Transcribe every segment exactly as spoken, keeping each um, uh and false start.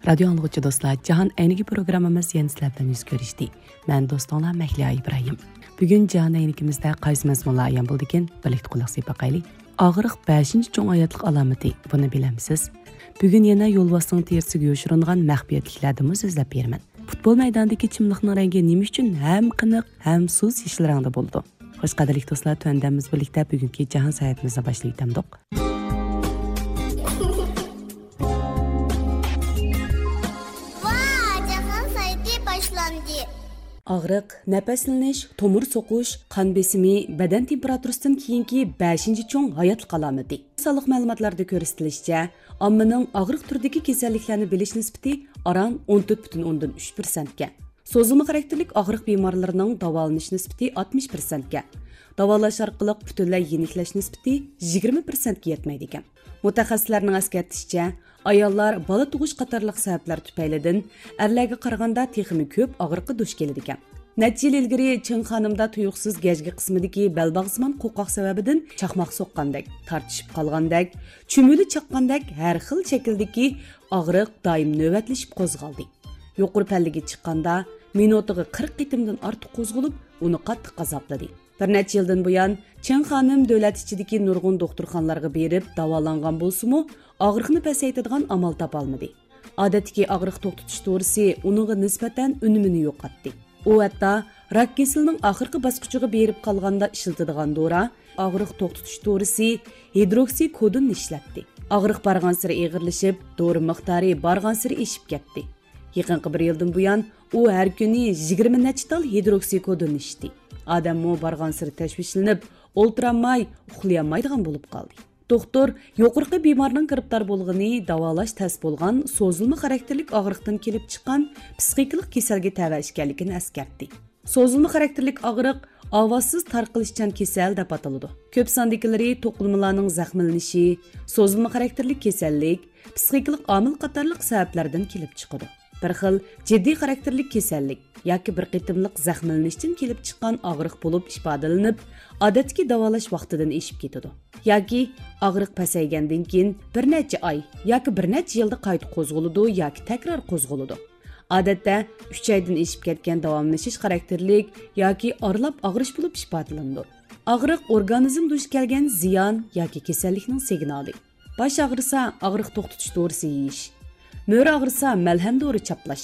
رادىيو ئاڭلىغۇچى دوستلار، جاھان ئەينىكى پروگراممىمىز يەنە سىلەر بىلەن يۈز كۆرۈشتى. مەن دوستۇڭلار مەھلىيا ئىبراھىم. بۈگۈن جاھان ئەينىكىمىزدە قايسى مەزمۇنلار ئايان بولدىكىن، بىرلىكتە قۇلاق سېلىپ باقايلى. ئاغرىق بەشىنچى چوڭ ھاياتلىق ئالامىتى، بۇنى بىلەمسىز؟ بۈگۈن يەنە يولۋاسنىڭ تېرىسىگە يوشۇرۇنغان مەخپىيەتلىكلەردىنمۇ سۆزلەپ بېرىمەن. پۇتبول مەيدانىدىكى چىملىقنىڭ رەڭگى نېمە ئۈچۈن ھەم قېنىق، ھەم سۇس يېشىل رەڭدە بولىدۇ؟ خوش، قەدىرلىك دوستلار، تۆۋەندە بىز بىرلىكتە بۈگۈنكى جاھان ساياھىتىمىزنى باشلىۋېتەمدۇق. ۋا، جاھان سايتى باشلاندى. ئاغرىق، نەپەسلىنىش، تومۇر سوقۇش، قان بېسىمى، بەدەن تېمپېراتۇرىسىدىن كېيىنكى بەشىنچى چوڭ ھاياتلىق ئالامىتى. سانلىق مەلۇماتلاردا كۆرسىتىلىشىچە، ئاممىنىڭ ئاغرىق تۈرىدىكى كېسەللىكلەرنى بىلىش نىسبىتى ئاران ئون تۆت پۈتۈن ئوندىن ئۈچ پىرسەنتكەن. سوزۇلما خاراكتېرلىك ئاغرىق بىمارلىرىنىڭ داۋالىنىش نىسبىتى ئاتمىش پىرسەنتكەن. داۋالاش ئارقىلىق پۈتۈنلەي يېنىكلەش نىسبىتى يىگىرمە پىرسەنتكە يەتمەيدىكەن. مۇتەخەسسىسلەرنىڭ ئەسكەرتىشىچە، ئاياللار بالا تۇغۇش قاتارلىق سەۋەبلەر تۈپەيلىدىن ئەرلەرگە قارىغاندا تېخىمۇ كۆپ ئاغرىققا دۇچ كېلىدىكەن. نەچچە يىل ئىلگىرى چىڭ خانىمدا تۇيۇقسىز گەجگە قىسمىدىكى بەلباغسىمان قوقاق سەۋەبىدىن چاقماق سوققاندەك، تارتىشىپ قالغاندەك، چۈمۈلە چاققاندەك ھەر خىل شەكىلدىكى ئاغرىق دائىم نۆۋەتلىشىپ قوزغالدى. يۇقىرى پەللىگە چىققاندا، مىنۇتىغا قىرىق قېتىمدىن ئارتۇق قوزغىلىپ، ئۇنى قاتتىق ئازابلىدى. بىر نەچچە يىلدىن بۇيان، چىڭ خانىم دۆلەت ئىچىدىكى نۇرغۇن دوختۇرخانىلارغا بېرىپ داۋالانغان بولسىمۇ، ئاغرىقنى پەسەيتىدىغان ئامال تاپالمىدى. ئادەتتىكى ئاغرىق توختىتىش دورىسى ئۇنىڭغا نىسبەتەن ئۈنۈمىنى يوقاتتى. ئۇ ھەتتا راك كېسىلىنىڭ ئاخىرقى باسقۇچىغا بېرىپ قالغاندا ئىشلىتىدىغان دورا، ئاغرىق توختىتىش دورىسى، ھىدروكسىكودوننى ئىشلەتتى. ئاغرىق بارغانسېرى ئېغىرلىشىپ، دورا مىقدارى بارغانسېرى ئېشىپ كەتتى. يېقىنقى بىر يىلدىن بۇيان، ئۇ ھەر كۈنى يىگىرمە نەچچە تال ھىدروكسىكودون ئىچتى. ئادەممۇ بارغانسېرى تەشۋىشلىنىپ، ئولتۇرالماي، ئۇخلىيالمايدىغان بولۇپ قالدى. دوختۇر يۇقىرىقى بىمارنىڭ گىرىپتار بولغىنى داۋالاش تەس بولغان سوزۇلما خاراكتېرلىك ئاغرىقتىن كېلىپ چىققان پسىخىكىلىق كېسەلگە تەۋە ئىكەنلىكىنى ئەسكەرتتى. سوزۇلما خاراكتېرلىك ئاغرىق ئاۋازسىز تارقىلىشچان كېسەل دەپ ئاتىلىدۇ. كۆپ ساندىكىلىرى توقۇلمىلارنىڭ زەخىملىنىشى، سوزۇلما خاراكتېرلىك كېسەللىك، پسىخىكىلىق ئامىل قاتارلىق سەۋەبلەردىن كېلىپ چىقىدۇ. بىر خىل جىددىي خاراكتېرلىك كېسەللىك ياكى بىر قېتىملىق زەخىملىنىشتىن كېلىپ چىققان ئاغرىق بولۇپ ئىپادىلىنىپ، ئادەتتىكى داۋالاش ۋاقتىدىن ئېشىپ كېتىدۇ. ياكى ئاغرىق پەسەيگەندىن كېيىن بىر نەچچە ئاي ياكى بىر نەچچە يىلدا قايتا قوزغىلىدۇ ياكى تەكرار قوزغىلىدۇ. ئادەتتە ئۈچ ئايدىن ئېشىپ كەتكەن داۋاملىشىش خاراكتېرلىك ياكى ئارىلاپ ئاغرىش بولۇپ ئىپادىلىنىدۇ. ئاغرىق ئورگانىزم دۇچ كەلگەن زىيان ياكى كېسەللىكنىڭ سىگنالى. باش ئاغرىسا، ئاغرىق توختىتىش دورىسى يېيىش. مۈرە ئاغرىسا، مەلھەم دورا چاپلاش.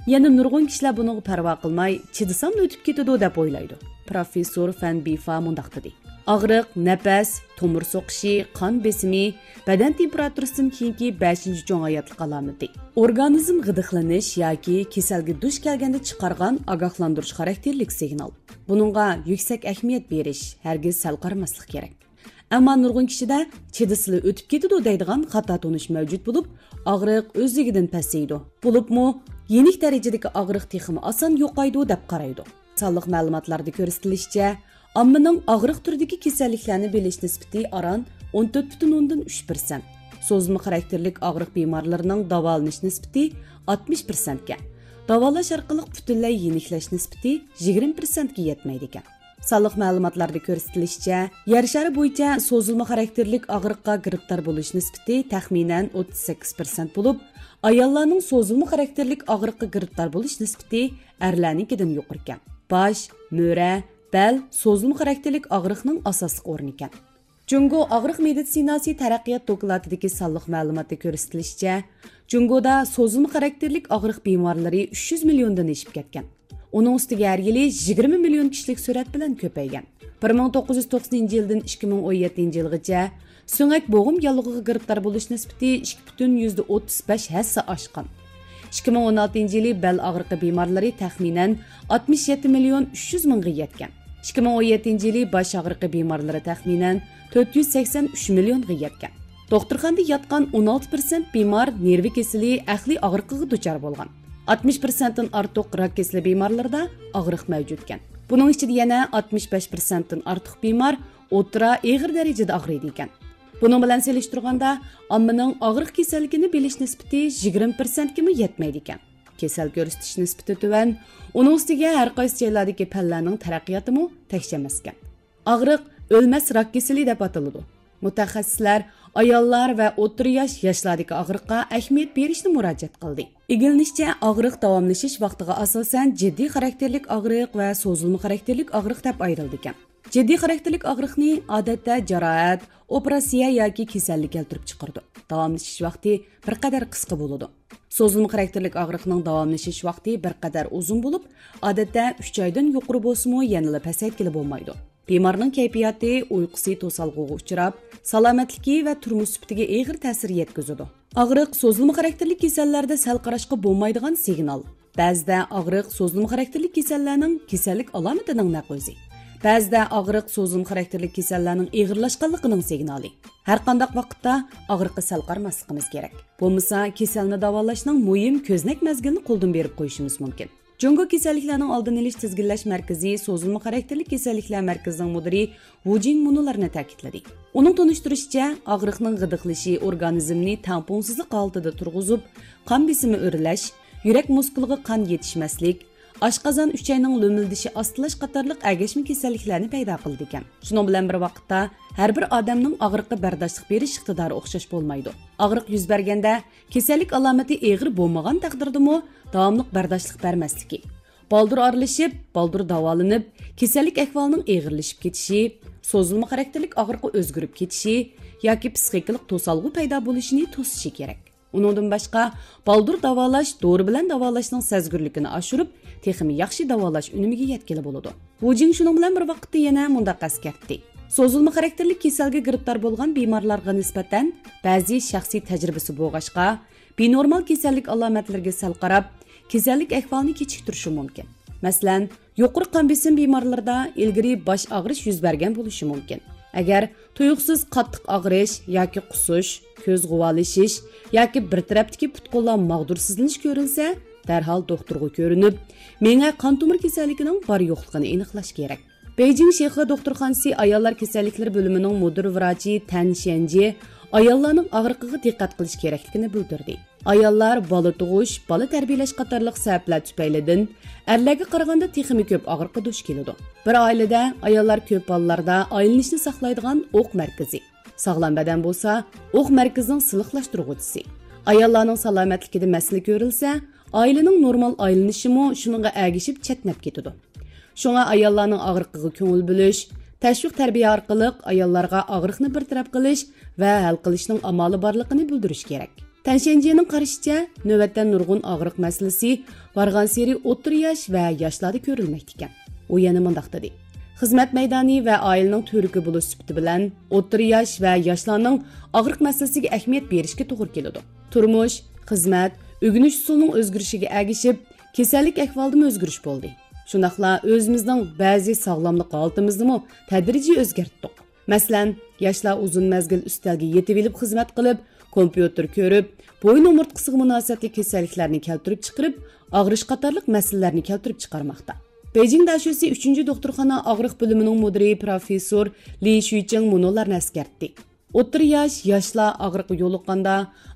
يەنە نۇرغۇن كىشىلەر بۇنىڭغا پەرۋا قىلماي، چىدىساملا ئۆتۈپ كېتىدۇ دەپ ئويلايدۇ. پروفېسسور فەن بىفا مۇنداق دېدى: ئاغرىق، نەپەس، تومۇر سوقۇشى، قان بېسىمى، بەدەن تېمپېراتۇرىسىدىن كېيىنكى بەشىنچى چوڭ ھاياتلىق ئالامىتى. ئورگانىزم غىدىقلىنىش ياكى كېسەلگە دۇچ كەلگەندە چىقارغان ئاگاھلاندۇرۇش خاراكتېرلىك سىگنال. بۇنىڭغا يۈكسەك ئەھمىيەت بېرىش، ھەرگىز سەل قارىماسلىق كېرەك. ئەمما نۇرغۇن كىشىدە چىدىسىلا ئۆتۈپ كېتىدۇ دەيدىغان خاتا تونۇش مەۋجۇت بولۇپ، ئاغرىق ئۆزلۈكىدىن پەسىيىدۇ. بولۇپمۇ يېنىك دەرىجىدىكى ئاغرىق تېخىمۇ ئاسان يوقايدۇ دەپ قارايدۇ. سانلىق مەلۇماتلاردا كۆرسىتىلىشىچە، ئاممىنىڭ ئاغرىق تۈرىدىكى كېسەللىكلەرنى بىلىش نىسبىتى ئاران ئون تۆت پۈتۈن ئوندىن ئۈچ پىرسەنت. سوزۇلما خاراكتېرلىك ئاغرىق بىمارلىرىنىڭ داۋالىنىش نىسبىتى ئاتمىش پىرسەنتكەن. داۋالاش ئارقىلىق پۈتۈنلەي يېنىكلەش نىسبىتى يىگىرمە پىرسەنتكە يەتمەيدىكەن. سانلىق مەلۇماتلاردا كۆرسىتىلىشىچە، يەر شارى بويىچە سوزۇلما خاراكتېرلىك ئاغرىققا گىرىپتار بولۇش نىسبىتى تەخمىنەن ئوتتۇز سەككىز پىرسەنت بولۇپ، ئاياللارنىڭ سوزۇلما خاراكتېرلىك ئاغرىققا گىرىپتار بولۇش نىسبىتى ئەرلەرنىڭكىدىن يۇقىرىكەن. باش، مۈرە، بەل سوزۇلما خاراكتېرلىك ئاغرىقنىڭ ئاساسلىق ئورنىكەن. جۇڭگو ئاغرىق مېدىتسىناسى تەرەققىيات دوكلاتىدىكى سانلىق مەلۇماتتا كۆرسىتىلىشىچە، جۇڭگودا سوزۇلما خاراكتېرلىك ئاغرىق بىمارلىرى ئۈچ يۈز مىليوندىن ئېشىپ كەتكەن. ئۇنىڭ ئۈستىگە ھەر يىلى يىگىرمە مىليون كىشىلىك سۈرئەت بىلەن كۆپەيگەن. بىر مىڭ توققۇز يۈز توقسىنىنچى يىلدىن ئىككى مىڭ ئون يەتتىنچى يىلغىچە سۆڭەك بوغۇم ياللۇغىغا گىرىپتار بولۇش نىسبىتى ئىككى پۈتۈن يۈزدە ئوتتۇز بەش ھەسسە ئاشقان. ئىككى مىڭ ئون ئالتىنچى يىلى بەل ئاغرىقى بىمارلىرى تەخمىنەن ئاتمىش يەتتە مىليون ئۈچ يۈز مىڭغا يەتكەن. ئىككى مىڭ ئون يەتتىنچى يىلى باش ئاغرىقى بىمارلىرى تەخمىنەن تۆت يۈز سەكسەن ئۈچ مىليونغا يەتكەن. دوختۇرخانىدا ياتقان ئون ئالتە پىرسەنت بىمار نېرۋا كېسىلى ئەقلىي ئاغرىقىغا دۇچار بولغان. ئاتمىش پىرسەنتتىن ئارتۇق راك كېسىلى بىمارلىرىدا ئاغرىق مەۋجۇتكەن. بۇنىڭ ئىچىدە يەنە ئاتمىش بەش پىرسەنتتىن ئارتۇق بىمار ئوتتۇرا ئېغىر دەرىجىدە ئاغرىيدىكەن. بۇنىڭ بىلەن سېلىشتۇرغاندا، ئاممىنىڭ ئاغرىق كېسەللىكىنى بىلىش نىسبىتى يىگىرمە پىرسەنتكىمۇ يەتمەيدىكەن. كېسەل كۆرسىتىش نىسبىتى تۆۋەن، ئۇنىڭ ئۈستىگە ھەر قايسى جايلاردىكى پەنلەرنىڭ تەرەققىياتىمۇ تەكشى ئەمەسكەن. ئاغرىق ئۆلمەس راك كېسىلى دەپ ئاتىلىدۇ. مۇتەخەسسىسلەر ئاياللار ۋە ئوتتۇرا ياش، ياشلاردىكى ئاغرىققا ئەھمىيەت بېرىشنى مۇراجىئەت قىلدى. ئىگىلىنىشىچە، ئاغرىق داۋاملىشىش ۋاقتىغا ئاساسەن جىددىي خاراكتېرلىك ئاغرىق ۋە سوزۇلما خاراكتېرلىك ئاغرىق دەپ ئايرىلىدىكەن. جىددىي خاراكتېرلىك ئاغرىقنى ئادەتتە جاراھەت، ئوپېراتسىيە ياكى كېسەللىك كەلتۈرۈپ چىقىرىدۇ. داۋاملىشىش ۋاقتى بىر قەدەر قىسقا بولىدۇ. سوزۇلما خاراكتېرلىك ئاغرىقنىڭ داۋاملىشىش ۋاقتى بىر قەدەر ئۇزۇن بولۇپ، ئادەتتە ئۈچ ئايدىن يۇقىرى بولسىمۇ، يەنىلا پەسەيتكىلى بولمايدۇ. بىمارنىڭ كەيپىياتى، ئۇيقۇسى توسالغۇغا ئۇچراپ، سالامەتلىكى ۋە تۇرمۇش سۈپىتىگە ئېغىر تەسىر يەتكۈزىدۇ. ئاغرىق سوزۇلما خاراكتېرلىك كېسەللەردە سەل قاراشقا بولمايدىغان سىگنال. بەزىدە ئاغرىق سوزۇلما خاراكتېرلىك كېسەللەرنىڭ كېسەللىك ئالامىتىنىڭ نەق ئۆزى. بەزىدە ئاغرىق سوزۇلما خاراكتېرلىك كېسەللەرنىڭ ئېغىرلاشقانلىقىنىڭ سىگنالى. ھەرقانداق ۋاقىتتا ئاغرىققا سەل قارىماسلىقىمىز كېرەك. بولمىسا، كېسەلنى داۋالاشنىڭ مۇھىم كۆزنەك مەزگىلىنى قولدىن بېرىپ قويۇشىمىز مۇمكىن. جۇڭگو كېسەللىكلەرنىڭ ئالدىنى ئېلىش تىزگىنلەش مەركىزى سوزۇلما خاراكتېرلىك كېسەللىكلەر مەركىزىنىڭ مۇدىرى ۋۇ جىڭ مۇنۇلارنى تەكىتلىدى. ئۇنىڭ تونۇشتۇرۇشىچە، ئاغرىقنىڭ غىدىقلىشى ئورگانىزمنى تەڭپۇڭسىزلىق ھالىتىدە تۇرغۇزۇپ، قان بېسىمى ئۆرلەش، يۈرەك مۇسكۇلىغا قان يېتىشمەسلىك، ئاشقازان ئۈچەينىڭ لۆمۈلدىشى ئاستىلاش قاتارلىق ئەگەشمە كېسەللىكلەرنى پەيدا قىلىدىكەن. شۇنىڭ بىلەن بىر ۋاقىتتا، ھەر بىر ئادەمنىڭ ئاغرىققا بەرداشلىق بېرىش ئىقتىدارى ئوخشاش بولمايدۇ. ئاغرىق يۈز بەرگەندە، كېسەللىك ئالامىتى ئېغىر بولمىغان تەقدىردىمۇ داۋاملىق بەرداشلىق بەرمەسلىكى، بالدۇر ئارىلىشىپ، بالدۇر داۋالىنىپ، كېسەللىك ئەھۋالىنىڭ ئېغىرلىشىپ كېتىشى، سوزۇلما خاراكتېرلىك ئاغرىققا ئۆزگىرىپ كېتىشى ياكى پىسخىكىلىق توسالغۇ پەيدا بولۇشىنى توسۇشى كېرەك. ئۇنىڭدىن باشقا، بالدۇر داۋالاش دورا بىلەن داۋالاشنىڭ سەزگۈرلۈكىنى ئاشۇرۇپ، تېخىمۇ ياخشى داۋالاش ئۈنۈمىگە يەتكىلى بولىدۇ. ۋۇ جىڭ شۇنىڭ بىلەن بىر ۋاقىتتا يەنە مۇنداق ئەسكەرتتى: سوزۇلما خاراكتېرلىك كېسەلگە گىرىپتار بولغان بىمارلارغا نىسبەتەن بەزى شەخسىي تەجرىبىسى بولغاچقا، بىنورمال كېسەللىك ئالامەتلىرىگە سەل قاراپ، كېسەللىك ئەھۋالىنى كېچىكتۈرۈشى مۇمكىن. مەسىلەن، يۇقىرى قان بېسىم بىمارلىرىدا ئىلگىرى باش ئاغرىش يۈز بەرگەن بولۇشى مۇمكىن. ئەگەر تۇيۇقسىز قاتتىق ئاغرىش ياكى قۇسۇش، كۆز غۇۋالىشىش ياكى بىر تەرەپتىكى پۇت-قوللار ماغدۇرسىزلىنىش كۆرۈلسە، دەرھال دوختۇرغا كۆرۈنۈپ، مېڭە قان تومۇر كېسەللىكىنىڭ بار-يوقلۇقىنى ئېنىقلاش كېرەك. بېيجىڭ شىخې دوختۇرخانىسى ئاياللار كېسەللىكلىرى بۆلۈمىنىڭ مۇدىر ۋراچى تەن شيەنجى ئاياللارنىڭ ئاغرىقىغا دىققەت قىلىش كېرەكلىكىنى بىلدۈردى. ئاياللار بالا تۇغۇش، بالا تەربىيەلەش قاتارلىق سەۋەبلەر تۈپەيلىدىن ئەرلەرگە قارىغاندا تېخىمۇ كۆپ ئاغرىققا دۇچ كېلىدۇ. بىر ئائىلىدە ئاياللار كۆپ بالىلاردا ئايلىنىشنى ساقلايدىغان ئوق مەركىزى، ساغلام بەدەن بولسا ئوق مەركىزىنىڭ سىلىقلاشتۇرغۇچىسى. ئاياللارنىڭ سالامەتلىكىدە مەسىلە كۆرۈلسە، ئائىلىنىڭ نورمال ئايلىنىشىمۇ شۇنىڭغا ئەگىشىپ چەتنەپ كېتىدۇ. شۇڭا ئاياللارنىڭ ئاغرىقىغا كۆڭۈل بۆلۈش، تەشۋىق تەربىيە ئارقىلىق ئاياللارغا ئاغرىقنى بىر تەرەپ قىلىش ۋە ھەل قىلىشنىڭ ئامالى بارلىقىنى بىلدۈرۈش كېرەك. تەن شيەنجىنىڭ قارىشىچە، نۆۋەتتە نۇرغۇن ئاغرىق مەسىلىسى بارغانسېرى ئوتتۇرا ياش ۋە ياشلاردا كۆرۈلمەكتىكەن. ئۇ يەنە مۇنداق دېدى: خىزمەت مەيدانى ۋە ئائىلىنىڭ تۈۋرۈكى بولۇش سۈپىتى بىلەن، ئوتتۇرا ياش ۋە ياشلارنىڭ ئاغرىق مەسىلىسىگە ئەھمىيەت بېرىشكە توغرا كېلىدۇ. تۇرمۇش، خىزمەت، ئۆگىنىش ئۇسۇلىنىڭ ئۆزگىرىشىگە ئەگىشىپ، كېسەللىك ئەھۋالىدىمۇ ئۆزگىرىش بولدى. شۇنداقلا ئۆزىمىزنىڭ بەزى ساغلاملىق ھالىتىمىزنىمۇ تەدرىجىي ئۆزگەرتتۇق. مەسىلەن، ياشلار ئۇزۇن مەزگىل ئۈستەلگە يېتىۋېلىپ خىزمەت قىلىپ، كومپيۇتېر كۆرۈپ، بويۇن ئومۇرتقىسىغا مۇناسىۋەتلىك كېسەللىكلەرنى كەلتۈرۈپ چىقىرىپ، ئاغرىش قاتارلىق مەسىلىلەرنى كەلتۈرۈپ چىقارماقتا. بېيجىڭ دەشۆسى ئۈچىنچى دوختۇرخانا ئاغرىق بۆلۈمىنىڭ مۇدىرى پروفېسسور لى شۈيچىڭ مۇنۇلارنى ئەسكەرتتى. ئوتتۇرا ياش، ياشلار ئاغرىققا يولۇققاندا،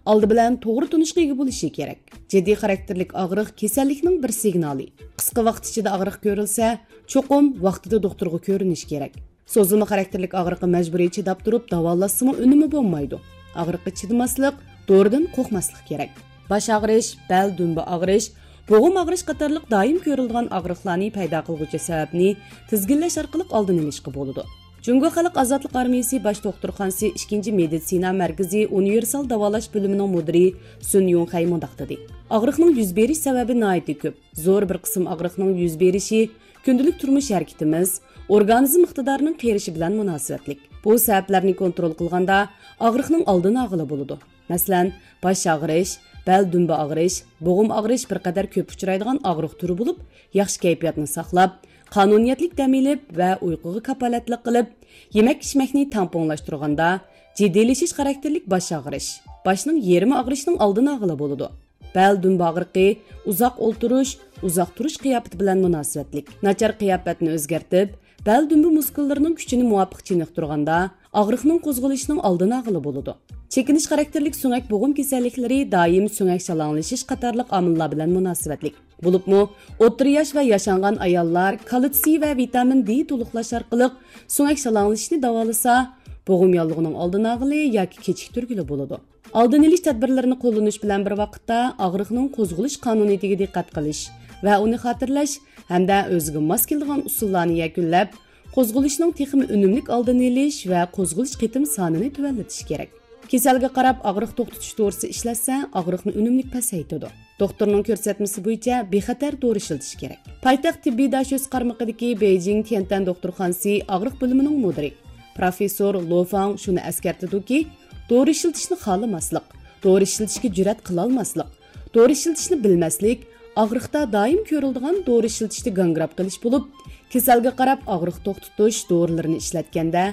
ئالدى بىلەن توغرا تونۇشقا ئىگە بولۇشى كېرەك. جىددىي خاراكتېرلىك ئاغرىق كېسەللىكنىڭ بىر سىگنالى. قىسقا ۋاقىت ئىچىدە ئاغرىق كۆرۈلسە، چوقۇم ۋاقتىدا دوختۇرغا كۆرۈنۈش كېرەك. سوزۇلما خاراكتېرلىك ئاغرىققا مەجبۇرىي چىداپ تۇرۇپ داۋالاشسىمۇ ئۈنۈمى بولمايدۇ. ئاغرىققا چىدىماسلىق، دورىدىن قورقماسلىق كېرەك. باش ئاغرىش، بەل دۈمبە ئاغرىش، بوغۇم ئاغرىش قاتارلىق دائىم كۆرۈلىدىغان ئاغرىقلارنى پەيدا قىلغۇچى سەۋەبنى تىزگىنلەش ئارقىلىق ئالدىنى ئېلىشقا بولىدۇ. جۇڭگو خەلق ئازادلىق ئارمىيىسى باش دوختۇرخانىسى ئىككىنچى مېدىتسىنا مەركىزى ئۇنىۋېرسال داۋالاش بۆلۈمىنىڭ مۇدىرى سۈن يۇڭخەي مۇنداق دېدى: ئاغرىقنىڭ يۈز بېرىش سەۋەبى ناھايىتى كۆپ. زور بىر قىسىم ئاغرىقنىڭ يۈز بېرىشى كۈندىلىك تۇرمۇش ھەرىكىتىمىز، ئورگانىزم ئىقتىدارىنىڭ قېرىشى بىلەن مۇناسىۋەتلىك. بۇ سەۋەبلەرنى كونترول قىلغاندا ئاغرىقنىڭ ئالدىنى ئالغىلى بولىدۇ. مەسىلەن، باش ئاغرىش، بەل دۈمبە ئاغرىش، بوغۇم ئاغرىش بىر قەدەر كۆپ ئۇچرايدىغان ئاغرىق تۈرى بولۇپ، ياخشى كەيپىياتنى ساقلاپ، قانۇنىيەتلىك دەم ئېلىپ ۋە ئۇيقۇغا كاپالەتلىك قىلىپ، يېمەك ئىچمەكنى تەڭپۇڭلاشتۇرغاندا، جىددىيلىشىش خاراكتېرلىك باش ئاغرىش، باشنىڭ يېرىمى ئاغرىشنىڭ ئالدىنى ئالغىلى بولىدۇ. بەل دۈمبە ئاغرىقى ئۇزاق ئولتۇرۇش، ئۇزاق تۇرۇش قىياپىتى بىلەن مۇناسىۋەتلىك. ناچار قىياپەتنى ئۆزگەرتىپ، بەل دۈمبە مۇسكۇللىرىنىڭ كۈچىنى مۇۋاپىق چېنىقتۇرغاندا، ئاغرىقنىڭ قوزغىلىشىنىڭ ئالدىنى ئالغىلى بولىدۇ. چېكىنىش خاراكتېرلىك سۆڭەك بوغۇم كېسەللىكلىرى دائىم سۆڭەك شالاڭلىشىش قاتارلىق ئامىللار بىلەن مۇناسىۋەتلىك. بولۇپمۇ، ئوتتۇرا ياش ۋە ياشانغان ئاياللار كالتسىي ۋە ۋىتامىن دې تولۇقلاش ئارقىلىق سۆڭەك شالاڭلىشىشنى داۋالىسا، بوغۇم ياللۇغىنىڭ ئالدىنى ئالغىلى ياكى كېچىكتۈرگىلى بولىدۇ. ئالدىنى ئېلىش تەدبىرلىرىنى قوللىنىش بىلەن بىر ۋاقىتتا ئاغرىقنىڭ قوزغىلىش قانۇنىيىتىگە دىققەت قىلىش ۋە ئۇنى خاتىرىلەش ھەمدە ئۆزىگە ماس كېلىدىغان ئۇسۇللارنى يەكۈنلەپ، قوزغىلىشنىڭ تېخىمۇ ئۈنۈملۈك ئالدىنى ئېلىش ۋە قوزغىلىش قېتىم سانىنى تۆۋەنلىتىش كېرەك. كېسەلگە قاراپ ئاغرىق توختىتىش دورىسى ئىشلەتسە، ئاغرىقنى ئۈنۈملۈك پەسەيتىدۇ. دوختۇرنىڭ كۆرسەتمىسى بويىچە بىخەتەر دورا ئىشلىتىش كېرەك. پايتەخت تېببىي داشۆسى قارمىقىدىكى بېيجىڭ تيەنتەن دوختۇرخانىسى ئاغرىق بۆلۈمىنىڭ مۇدىرى، پروفېسسور لو فاڭ شۇنى ئەسكەرتىدۇكى، دورا ئىشلىتىشنى خالىماسلىق، دورا ئىشلىتىشكە جۈرئەت قىلالماسلىق، دورا ئىشلىتىشنى بىلمەسلىك، ئاغرىقتا دائىم كۆرۈلىدىغان دورا ئىشلىتىشتە گاڭگىراپ قېلىش بولۇپ، كېسەلگە قاراپ ئاغرىق توختىتىش دورىلىرىنى ئىشلەتكەندە،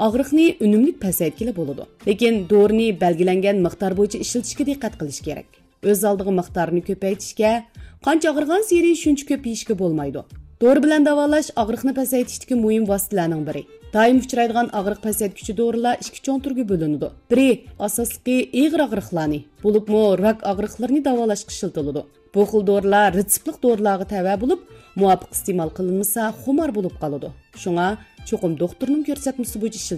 ئاغرىقنى ئۈنۈملۈك پەسەيتكىلى بولىدۇ. لېكىن دورىنى بەلگىلەنگەن مىقدار بويىچە ئىشلىتىشكە دىققەت قىلىش كېرەك. ئۆز ئالدىغا مىقدارنى كۆپەيتىشكە، قانچە ئاغرىغانسېرى شۇنچە كۆپ يېيىشكە بولمايدۇ. دورا بىلەن داۋالاش ئاغرىقنى پەسەيتىشتىكى مۇھىم ۋاسىتىلەرنىڭ بىرى. دائىم ئۇچرايدىغان ئاغرىق پەسەيتكۈچى دورىلار ئىككى چوڭ تۈرگە بۆلۈنىدۇ. بىرى، ئاساسلىقى ئېغىر ئاغرىقلارنى، بولۇپمۇ راك ئاغرىقلىرىنى داۋالاشقا ئىشلىتىلىدۇ. بۇ خىل دورىلار رېتسېپلىق دورىلارغا تەۋە بولۇپ، مۇۋاپىق ئىستېمال قىلىنمىسا، خۇمار بولۇپ قالىدۇ. شۇڭا چوقۇم دوختۇرنىڭ كۆرسەتمىسى بويىچە ئىشلىتىلىدۇ.